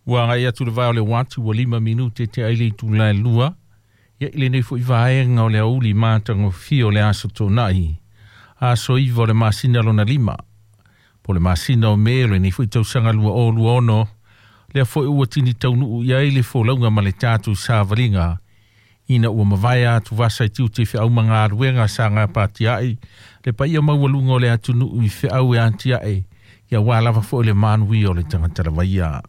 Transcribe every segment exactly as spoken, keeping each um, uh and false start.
Ua agai atu le vae o le uati ua lima minute tea ai le itula e lua. Ia i lenei fo'i vaega o le aoauli matagofie o le aso Toonai. Aso iva o le masina lona lima. Po o le masina o Me o lenei fo'i tausaga lua o lua ono. Lea fo'i ua tini taunuu i ai le folauga ma le tatou savaliga. Ina ua mavae atuvasa i tiute i feau ma galuega sa gapatia'i le paia maualuga o le atunuu i feau e atiae ia lava fo'i le manuia o le tagata lavaia.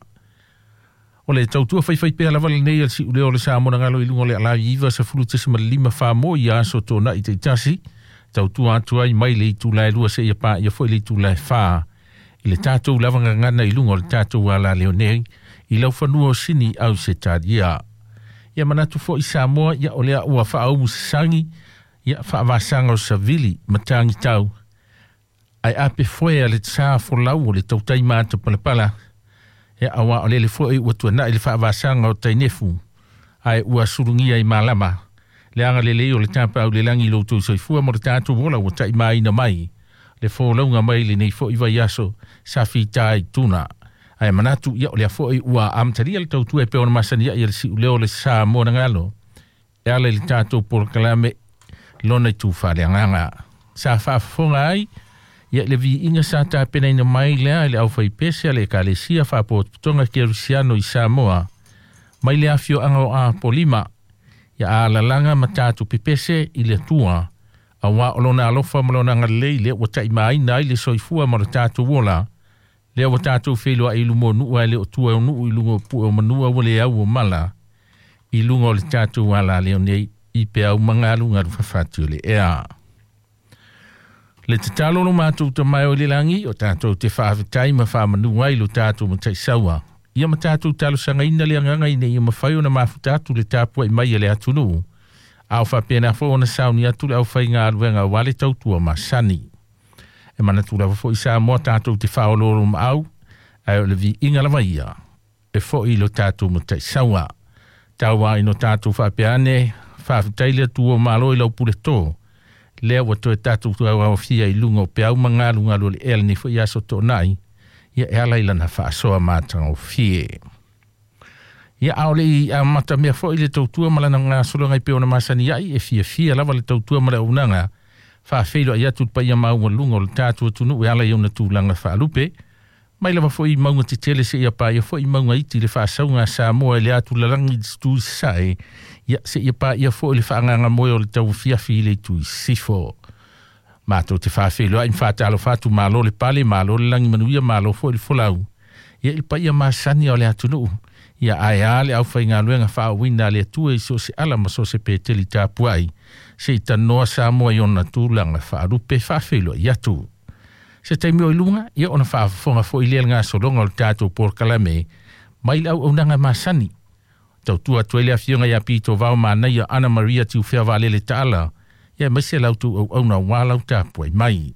O le tautua faifaipea lava lenei a le si'uleo o le Samoa na galo i luga o le alavi iva sefulu tesima lima famo i aso Toonai taitasi, tautua atu ai mai le itula e lua seia paia fo'i le itula e fa i le tatou lava gagana i luga o le tatou alaleo nei i laufanua o Sini Ausetalia. Ia manatu fo'i Samoa, ia o lea ua faaumu sasagi ia faavasaga o savili ma tagitau ae ape foe a le sa folau o le tautai matapalapala. Ia auā o lele fo'i ua tuana'i le faavasaga o tainefu ae ua sulugia i malama le agalelei o le tapaau le lagi i loutou soifua ma le tatou ola ua taʻimāina mai le folauga mai lenei fo'i vaiaso sa fitā i tuna. Ae manatu ia o lea fo'i ua amatalia le tautua e pei ona masani ai a le si'uleo o le Samoa na galo e ala i le tatou polokalame lona itu faaleagaga sa faafofoga ai ia i le viiga sa tapenaina mai lea i le aufaipese a le Ekalesia Faapotopotoga Kerisiano i Samoa mai le afioaga o Apolima ia alalaga ma tatou pepese i le Atua auā o lona alofa ma lona agalelei lea ua taʻimāina ai le soifua ma le tatou ola lea ua tatou feiloaʻi i luma o nuu ae le o tua o nuu i luga o pue o manua ua le au o mala i luga o le tatou alaleo nei i peau magalugalu fafati o le ea. Le tatalo lo matou tamae o le lagi o tatou te faafetai ma faamanu ai lo tatou mataisaua. Ia ma tatou talosagaina le agaga ina ia mafai ona mafuta atu le tapuai mai a le atunuu. A o faapena foi ona sauni atu le aufaigaluega auā le tautua masani. E manatu lava fo'i Samoa tatou te faaoloolomaau ae o le viiga lava ia e fo'i lo tatou mataisaua. Tau ina o tatou faapea ane, faafetai le Atua o Malo i lau puletō. Lea ua toe tatou tauaofia i luga o peau magalugalu o le ea lenei fo'i aso Toonai, ia e ala i lana faasoa matagofie. Ia a o le i amatamea fo'i le tautua ma lana gasologa i pei ona masani ai e fiafia lava le tautua ma le auaunaga faafeiloai atu le paia maualuga o le tatou atunuu e ala i ona tulaga faalupe. Mai lava fo'i mauga tetele seia paia fo'i mauga iti le faasauga a Samoa i le atu lalagi i le itu i sasae, ia seia paia fo'i le faagagamoe o le tauafiafi i le itu i sisifo. Matou te faafeiloai ma faatalofa atu malo le pale, malo le lagi manuia, malo fo'i le folau. Ia i le paia masani o le atunuu, ia ae a le aufaigaluega faauuina a le Atua i so o se ala ma so o se peteli tapuai, se i tanoa Samoa i ona tulaga faalupe faafeiloai atu. Se taimi o i luga, ia ona faafofoga fo'i lea le gasologa o le tatou polokalame mai le auaunaga masani. Tautua atu ai le afioga ia Pito Vao Manaia Ana Maria Tiufea Vaalele Taala, ia aemaise la outou auauna auā lau tapuai mai.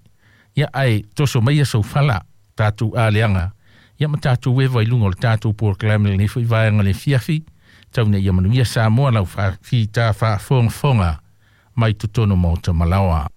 Ia ae toso maia soufala, tatou aleaga, ia ma tatou eva i luga o le tatou polokalame lenei fo'i vaega le afiafi, tau ina ia manuia Samoa lau fita faafogafoga mai totonu o maota malaoa.